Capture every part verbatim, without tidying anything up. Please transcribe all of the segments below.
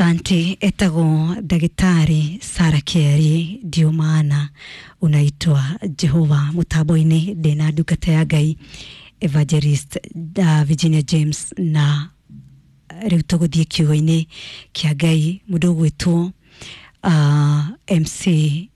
Asante. Etagwo Ndagĩtarĩ Sara Kĩeri, ndio maana unaitwa Jehova. Mũtambo-inĩ ndĩna ndungata ya Ngai Evangelist uh, Virginia James, na rĩu tũgũthiĩ kiugo-inĩ kĩa Ngai. Mũndũ ũgwĩtwo uh, M C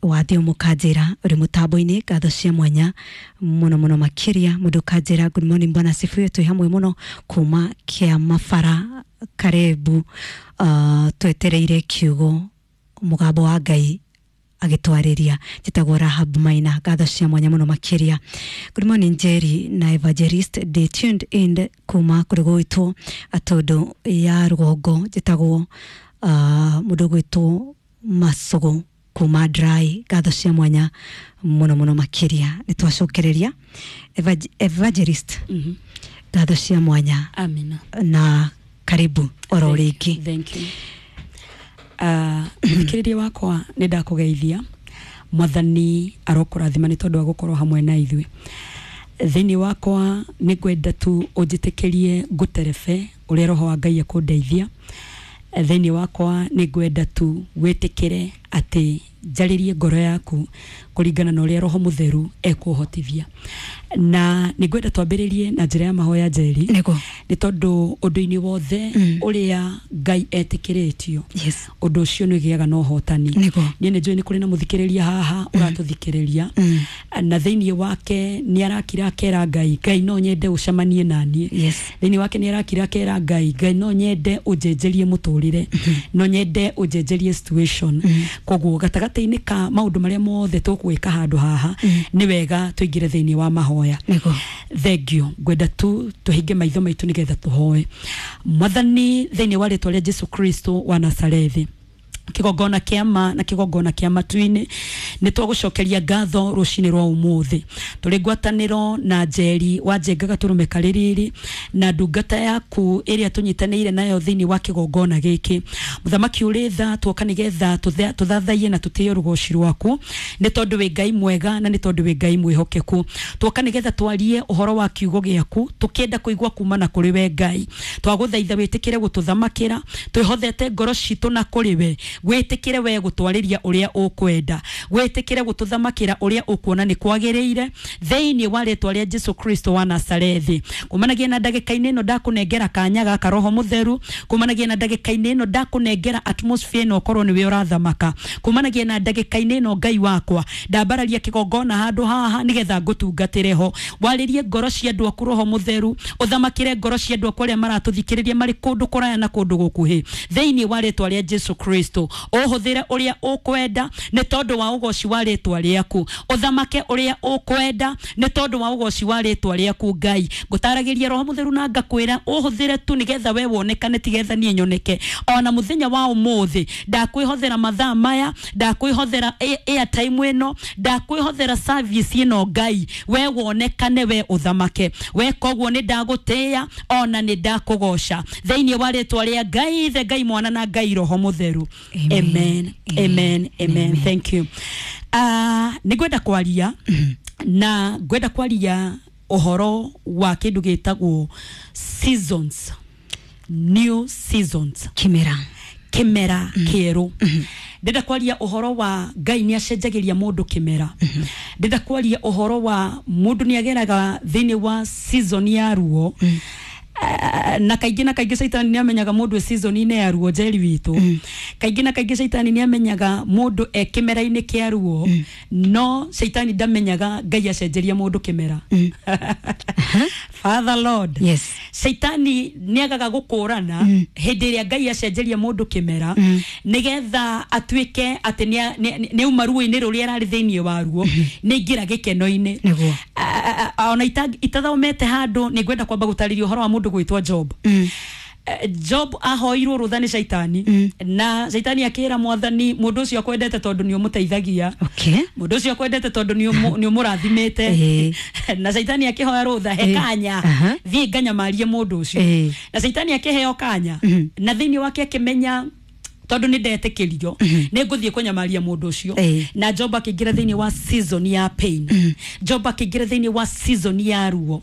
wathio mũkanjĩra ũrĩ mũtambo-inĩ, ngatho cia mwanya mũno mũno makĩria. Mũndũ kanjĩra, "Good morning, bwana asifiwe, twĩ hamwe mũno kuma kĩa mabara, karebu, uh, twetereire kiugo mũgambo wa Ngai agĩtwarĩria. Njĩtagwo Rahab Maina." Ngatho cia mwanya mũno makĩria. "Good morning, Jerry na Evangelist, ndĩ tuned in kuma kũrĩ gwĩtwo Atũndũ ya rũgongo. Njĩtagwo uh, mũndũ gwĩtwo Macũgũ kuma Dry." Ngatho cia mwanya mũno mũno makĩria. Nĩ twacokereria. Evag- evangelist Mhm. ngatho cia mwanya. Amina. Na karibu oro rĩngĩ. Thank you. Uh, mũthikĩrĩria wakwa, nĩ ndakũgeithia. Mwathani arokũrathima nĩ tondũ wa gũkorwo hamwe na ithuĩ. Thĩinĩ wakwa nĩ ngwenda tu ũnjĩtĩkĩrie ngũterebe ũrĩa roho wa Ngai ekũndeithia. Thĩinĩ wakwa nĩ ngwenda tu wĩtĩkĩre atĩ njarĩrie ngoro yaku kũringana na ũrĩa Roho Mũtheru ekũhotithia, na nĩ ngwenda twambĩrĩrie na njĩra ya mahoya, Njeri. Nĩguo. Nĩ tondũ ũndũ-inĩ wothe Mm. ũrĩa Ngai etĩkĩrĩtio, yes ũndũ ũcio nĩ ũgĩaga na ũhotani. Nĩguo. Niĩ nĩ njũĩ nĩ kũrĩ na mũthikĩrĩria haha ũratũthikĩrĩria, Mm. na thĩinĩ wake nĩ arakira akera Ngai, "Ngai, no nyende ũcemanie naniĩ." Yes thĩinĩ wake nĩ arakira akera Ngai, "Ngai, no nyende ũnjenjerie mũtũrĩre, no nyende ũnjenjerie situation." Koguo gatagatĩ-inĩ ka maũndũ marĩa mothe tũgwĩka handũ haha, nĩ wega tũingĩre thĩinĩ wa mahoya. Nĩguo. Thengio. Ngwenda tu tũhinge maitho maitũ nĩgetha tũhoe. Mwathani, thĩinĩ wa rĩtwa rĩa Jesu Kristo wa Nazarethi, kĩgongona kĩa ma na kĩgongona kĩa matu-inĩ, nĩ twagũcokeria ngatho rũcinĩ rwa ũmũthĩ. Tũrĩ ngwatanĩro na Njeri wa Njenga Gatũrũme Karĩrĩrĩ na ndungata yaku ĩrĩa tũnyitanĩire nayo thĩinĩ wa kĩgongona gĩkĩ. Mũthamaki ũrĩ tha, tuoka nĩgetha tũthe- tũthathaiye na tũtĩe rũgoci rwaku, nĩ tondũ wĩ Ngai mwega na nĩ tondũ wĩ Ngai mwĩhokeku. Tuoka nĩgetha twarie ũhoro wa kiugo gĩaku, tũkĩenda kũigua kuma na kũrĩ we. Ngai, twagũthaitha wĩtĩkĩre gũtũthamakĩra. Twĩhothete ngoro citũ na kũrĩ we, wĩtĩkĩre we gũtwarĩria ũrĩa ũkwenda, wĩtĩkĩre gũtũthamakĩra ũrĩa ũkuona nĩ kwagĩrĩire, thĩinĩ wa rĩtwa rĩa Jesu Kristo wa Nazarethi. Kumanagia na ndagĩka-inĩ ĩno ndakũnengera kanya gaka, Roho Mũtheru, kumanagia na ndagĩka-inĩ ĩno ndakũnengera atmosphere ĩno, ũkorwo nĩwe ũrathamaka. Kumanagia na ndagĩka-inĩ ĩno, Ngai wakwa, ndambararia kĩgongona handũ haha nĩgetha ngũtungatĩre ho. Warĩrie ngoro cia andũ aku, Roho Mũtheru, ũthamakĩre ngoro cia andũ aku arĩa maratũthikĩrĩria marĩ kũndũ kũraya na kũndũ gũkuhĩ, thĩinĩ wa rĩtwa rĩa Jesu Kristo. Ũhũthĩre ũrĩa ũkwenda nĩ tondũ wa ũgoci wa rĩtwa rĩaku. Ũthamake ũrĩa ũkwenda nĩ tondũ wa ũgoci wa rĩtwa rĩaku. Ngai, ngũtaragĩria, Roho Mũtheru, na ngakwĩra ũhũthĩre tu nĩgetha we wonekane, tigetha niĩ nyoneke. Ona mũthenya wa ũmũthĩ ndakwĩhothera mathaa maya, ndakwĩhothera a- airtime ĩno, ndakwĩhothera service ĩno. Ngai, we wonekane, we ũthamake we. Koguo nĩ ndagũtĩĩa ona nĩ ndakũgoca thĩinĩ wa rĩtwa rĩa Ngai Ithe, Ngai Mwana na Ngai Roho Mũtheru. Amen. Amen, amen, amen. Thank you. uh, nĩ ngwenda kwaria na ngwenda kwaria ũhoro wa kĩndũ gĩtagwo seasons, new seasons. Kimera. Kĩmera kĩerũ. Ndĩrenda kwaria ũhoro wa Ngai nĩ acenjagĩria mũndũ kĩmera. Ndĩrenda kwaria ũhoro wa mũndũ nĩ ageraga thĩinĩ wa season ya ruo. Ah, na kaingĩ na kaingĩ caitani nĩ amenyaga mũndũ e season-inĩ ya ruo. Njeri witũ, kaingĩ na kaingĩ caitani nĩ amenyaga mũndũ e kĩmera-inĩ kĩa ruo, no caitani ndamenyaga Ngai acenjeria mũndũ kĩmera. Father Lord. Yes. Caitani nĩ agaga gũkũrana hĩndĩ ĩrĩa Ngai acenjeria mũndũ kĩmera, nĩgetha atuĩke atĩ nĩ- nĩ nĩ auma ruo-inĩ rũrĩa ararĩ thĩinĩ wa ruo, nĩ aingĩra gĩkeno-inĩ. Nĩguo. A- a- ona ita- itathomete handũ, nĩ ngwenda kwamba gũtarĩria ũhoro wa mũndũ gwĩtwo Job. Eh, Job ahoirwo rũtha nĩ caitani, na caitani akĩra Mwathani, "Mũndũ ũcio akwendete tondũ nĩ ũmũteithagia." Okay. "Mũndũ ũcio akwendete tondũ nĩ ũmũ- nĩ ũmũrathimĩte." Ĩĩ. Na caitani akĩhoya rũtha, "He Ĩĩ. kanya, Aha. thiĩ nganyamarie mũndũ ũcio." Ĩĩ. Na caitani akĩheo kanya, na thĩinĩ wake akĩmenya Tondu nĩ ndetĩkĩrio nĩ ngũthiĩ kũnyamaria mũndũ ũcio. Ĩĩ. Na Job akĩingĩra thĩinĩ wa season ya pain, Job akĩingĩra thĩinĩ wa season ya ruo,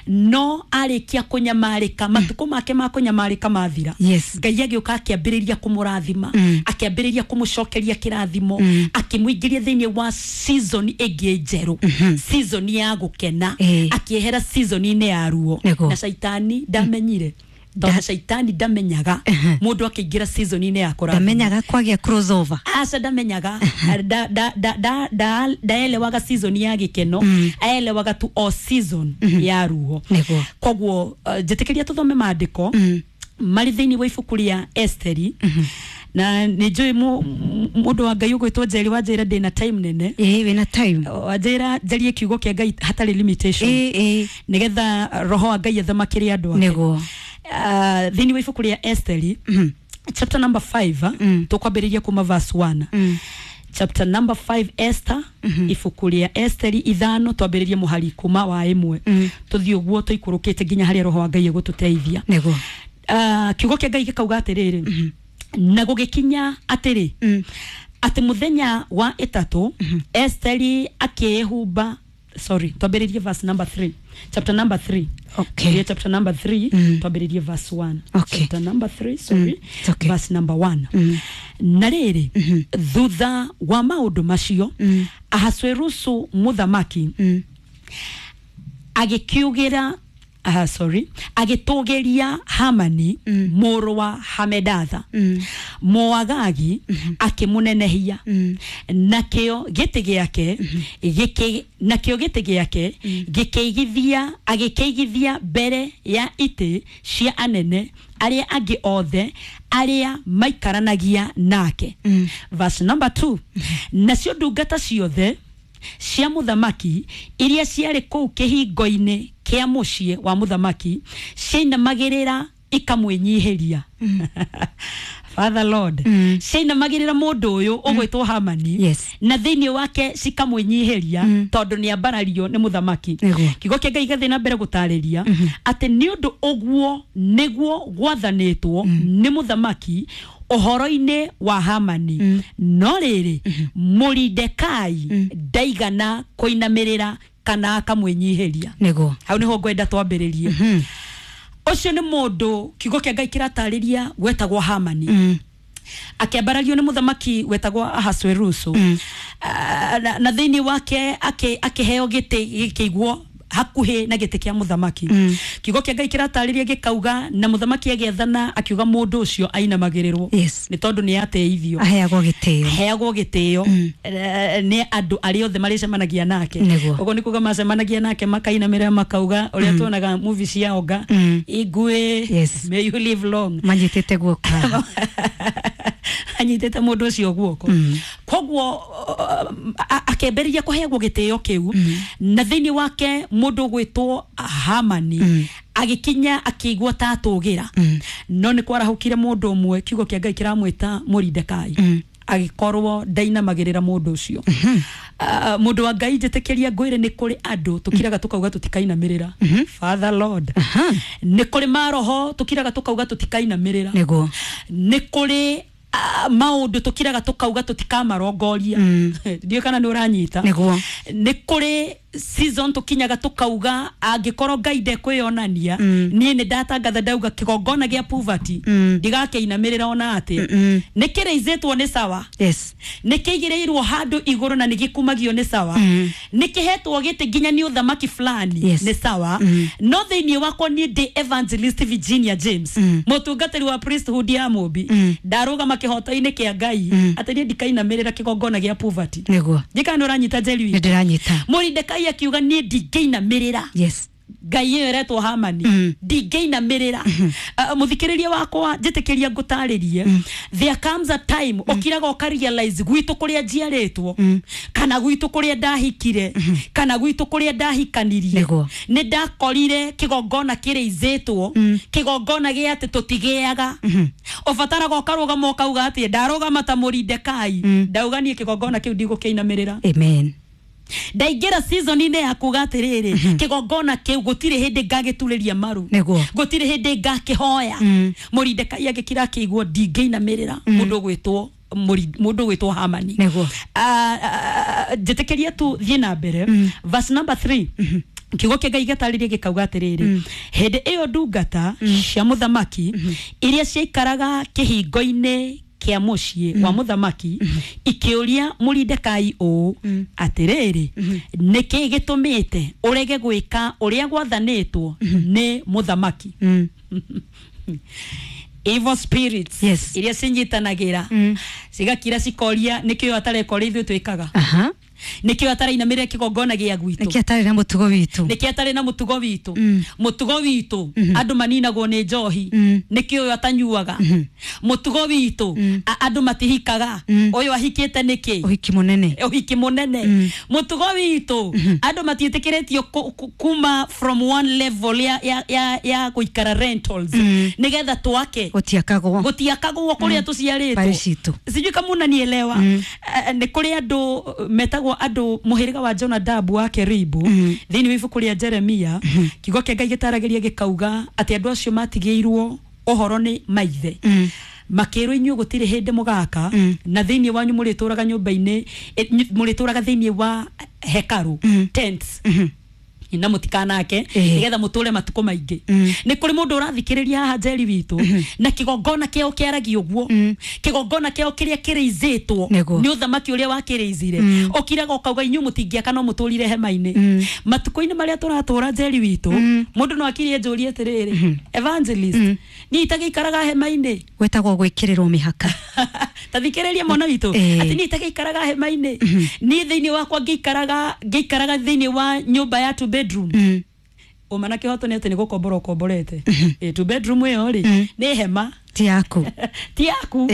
no arĩkia kũnyamarĩka, matukũ make ma kũnyamarĩka mathira, Yes. Ngai agĩũka akĩambĩrĩria kũmũrathima, akĩambĩrĩria kũmũcokeria kĩrathimo, akĩmũingĩria thĩinĩ wa season ĩngĩ njerũ, season ya gũkena, Ĩĩ. akĩehera season-inĩ ya ruo. Nĩguo. Na caitani ndamenyire, tondũ caitani ndamenyaga mũndũ akĩingĩra season-inĩ ya kũrathimwo. Ndamenyaga kwagĩa crossover. Aca, ndamenyaga. Da- da- da- da- da- ndaelewaga season ya gĩkeno, aelewaga tu o season ya ruo. Nĩguo. Koguo uh, njĩtĩkĩria tũthome maandĩko marĩ thĩinĩ wa ibuku rĩa Esteri, na nĩ njũĩ mũndũ wa Ngai ũgwĩtwo Njeri wa njĩra ndĩna time nene. Ĩĩ, wĩna time. Wanjĩra njarie kiugo kĩa Ngai hatarĩ limitation, Ĩĩ, ĩĩ. nĩgetha roho wa Ngai athamakĩre andũ ake. Nĩguo. Uh, thĩinĩ wa ibuku rĩa Esteri chapter number five, tũkwambĩrĩria kuma verse one. Chapter number five, Esther, ibuku rĩa Esteri ithano, twambĩrĩrie mũhari kuma wa ĩmwe, tũthiĩ ũguo tũikũrũkĩte nginya harĩa roho wa Ngai egũtũteithia. Nĩguo. Uh, kiugo kĩa Ngai gĩkauga atĩrĩrĩ, na gũgĩkinya atĩrĩ, atĩ mũthenya wa ĩtatũ Esteri akĩĩhumba, sorry, twambĩrĩrie verse number three, chapter number three. Okay. Tuambĩrĩrie chapter number three, twambĩrĩrie verse one. Okay. Chapter number three, sorry, Mm, it's okay. verse number one. Na rĩrĩ, thutha wa maũndũ macio, Ahasuerusu mũthamaki agĩkiugĩra, uh, sorry, agĩtũgĩria Hamani mũrũ wa Hamedatha Mũagagi, akĩmũnenehia, nakĩo gĩtĩ gĩake gĩkĩ nakĩo gĩtĩ gĩake gĩkĩigithia agĩkĩigithia mbere ya itĩ cia anene arĩa angĩ othe arĩa maikaranagia nake. Verse number two, nacio ndungata ciothe cia mũthamaki iria ciarĩ kũu kĩhingo-inĩ kĩa mũciĩ wa mũthamaki ciainamagĩrĩra ikamwĩnyihĩria. Father Lord, ciainamagĩrĩra mũndũ ũyũ ũgwĩtwo Hamani, Yes. na thĩinĩ wake cikamwĩnyihĩria tondũ nĩ ambarario nĩ mũthamaki. Nĩguo. Kiugo kĩa Ngai gĩgathiĩ na mbere gũtarĩria atĩ nĩ ũndũ ũguo nĩguo gwathanĩtwo nĩ mũthamaki ũhoro-inĩ wa Hamani. No rĩrĩ, Mũridekai ndaigana kũinamĩrĩra kana akamwĩnyihĩria. Nĩguo. Hau nĩho ngwenda twambĩrĩrie. Ũcio nĩ mũndũ kiugo kĩa Ngai kĩratarĩria wetagwo Hamani, akĩambarario nĩ mũthamaki wetagwo Ahasuerusu. Ah, na, na thĩinĩ wake akĩ- akĩheo gĩtĩ gĩkĩigwo hakuhĩ na gĩtĩ kĩa mũthamaki. Kiugo kĩa Ngai kĩratarĩria gĩkauga na mũthamaki agĩathana akiuga mũndũ ũcio ainamagĩrĩrwo, Yes. nĩ tondũ nĩ ateithio, Aheagwo gĩtĩo. Heagwo gĩtĩo eh, nĩ andũ arĩa othe marĩcemanagia nake. Nĩguo. Ũguo nĩ kuga macemanagia nake makainamĩrĩra makauga ũrĩa tuonaga movie cia onga Igwe, Yes. "May you live long." Manyitĩte guoko haha. Anyitĩte mũndũ ũcio guoko. Koguo uh, a- akĩambĩrĩria kũheagwo gĩtĩo kĩu, na thĩinĩ wake mũndũ ũgwĩtwo Hamani agĩkinya akĩigua ta atũgĩra. No nĩ kwarahũkire mũndũ ũmwe kiugo kĩa Ngai kĩramwĩta Mũridekai, agĩkorwo ndainamagĩrĩra mũndũ ũcio. Ah, mũndũ wa Ngai, njĩtĩkĩria ngwĩre, nĩ kũrĩ andũ tũkiraga tũkauga tũtikainamĩrĩra. Father Lord, nĩ kũrĩ maroho tũkiraga tũkauga tũtikainamĩrĩra. Nĩguo. Nĩ kũrĩ ah, maũndũ tũkiraga tũkauga tũtikamarongoria. Ndiũĩ kana nĩ ũranyita. Nĩguo. Nĩ kũrĩ season tũkinyaga tũkauga angĩkorwo Ngai ndekwĩyonania, niĩ nĩ ndatangatha ndauga kĩgongona gĩa poverty ndigakĩinamĩrĩra ona atĩa. Nĩ kĩrĩizĩtwo nĩ sawa, Yes. nĩ kĩigĩrĩirwo handũ igũrũ na nĩ gĩkumagio nĩ sawa, nĩ kĩhetwo gĩtĩ nginya nĩ ũthamaki fulani, Yes. nĩ sawa, no thĩinĩ wakwa niĩ ndĩ Evangelist Virginia James, mũtungatĩri wa priesthood ya Mũmbi, ndarũgama kĩhoto-inĩ kĩa Ngai atĩ niĩ ndikainamĩrĩra kĩgongona gĩa poverty. Nĩguo. Njĩkaga nĩ ũranyita, Njeri? Nĩ ndĩranyita. Mũridekai akiuga niĩ ndingĩinamĩrĩra Yes. ngai ĩyo ĩretwo Hamani, ndingĩinamĩrĩra. Uh, mũthikĩrĩria wakwa, njĩtĩkĩria ngũtarĩrie, there comes a time ũkiraga ũkarealize gwitũ kũrĩa njiarĩtwo, kana gwitũ kũrĩa ndahikire, kana gwitũ kũrĩa ndahikanirie, Nĩguo. nĩ ndakorire kĩgongona kĩrĩizĩtwo, kĩgongona gĩa atĩ tũtigĩaga. Ũbataraga ũkarũgama ũkauga atĩ ndarũgama ta Mũridekai, ndauga niĩ kĩgongona kĩu ndigũkĩinamĩrĩra. Amen. Ndaingĩra season-inĩ ya kuga atĩrĩrĩ, kĩgongona kĩu gũtirĩ hĩndĩ ngagĩturĩria maru, Nĩguo. gũtirĩ hĩndĩ ngakĩhoya. Mm. Mũrindekai agĩkira akĩigua ndingĩinamĩrĩra mũndũ ũgwĩtwo mũri- mũndũ ũgwĩtwo Hamani. Nĩguo. Ah, ah, njĩtĩkĩria tu thiĩ na mbere, verse number three. Kiugo kĩa Ngai gĩtarĩrie gĩkauga atĩrĩrĩ, hĩndĩ ĩyo ndungata cia mũthamaki iria ciaikaraga kĩhingo-inĩ kĩa mũciĩ wa mũthamaki ikĩũria Mũrindekai ũũ, atĩrĩrĩ, nĩkĩ gĩtũmĩte ũrege gwĩka ũrĩa gwathanĩtwo nĩ mũthamaki? Mm. Evil spirits Yes. iria cinyitanagĩra Mm. cigakira cikoria nĩkĩo atareka ũrĩa ithuĩ twĩkaga, Aha. nĩkĩo atarainamĩrĩra kĩgongona gĩa gwitũ, Nĩkĩ atarĩ na mũtugo witũ? Nĩkĩo atarĩ na mũtugo witũ? Mm. Mũtugo witũ andũ maninagwo nĩ njohi, Mm. nĩkĩo ũyũ atanyuaga? Mũtugo witũ a- andũ matihikaga, Mm. ũyũ ahikĩte nĩkĩ? Ũhiki mũnene. Ũhiki mũnene. Mũtugo witũ andũ matiĩtĩkĩrĩtio ku- ku- kuma from one level ya, ya, ya, ya gũikara rentals Mm. nĩgetha twake. Gũtiakagwo. Gũtiakagwo kũrĩa tũciarĩtwo. Mbarĩ citũ. Sijui kama unanielewa. Mm. Eh, nĩ kũrĩ andũ eh, metagwo andũ mũhĩrĩga wa Jonadabu wa Keribu. Mm. Thĩinĩ wa ibuku rĩa Jeremia, kiugo kĩa Ngai gĩtaragĩria gĩkauga atĩ andũ acio matigĩirwo ũhoro nĩ maithe, Mm. makĩrwo inyuĩ gũtirĩ hĩndĩ mũgaka, Mm. na thĩinĩ wanyu mũrĩtũraga nyũmba-inĩ, eh, nyu- mũrĩtũraga thĩinĩ wa hekarũ, Mm. tents, Mhm. na mũtikanake Ĩĩ. nĩgetha mũtũre matukũ maingĩ. Mm. Nĩ kũrĩ mũndũ ũrathikĩrĩria haha, Njeri witũ, na kĩgongona kĩao kĩaragia ũguo, Mm. kĩgongona kĩao kĩrĩa kĩrĩizĩtwo Nĩguo. nĩ ũthamaki ũrĩa wakĩrĩizire, Mm. ũkiraga ũkauga inyuĩ mũtingĩaka no mũtũrire hema-inĩ. Mm. Matukũ-inĩ marĩa tũratũra, Njeri witũ, Mm. mũndũ no akirie njũrie atĩrĩrĩ, evangelist, Mm. niĩ itagĩikaraga hema-inĩ? Gwĩtagwo gwĩkĩrĩrwo mĩhaka. Tathikĩrĩria mwana witũ, Ĩĩ. atĩ niĩ itagĩikaraga hema-inĩ, niĩ thĩinĩ wakwa ngĩikaraga ngĩikaraga thĩinĩ wa nyũmba ya two bedroom. Mm. Ũma na kĩhoto nĩ atĩ nĩ gũkombora ũkomborete. Ĩ, two bedroom ĩyo rĩ, Mm. nĩ hema. Ti yaku. Ti yaku.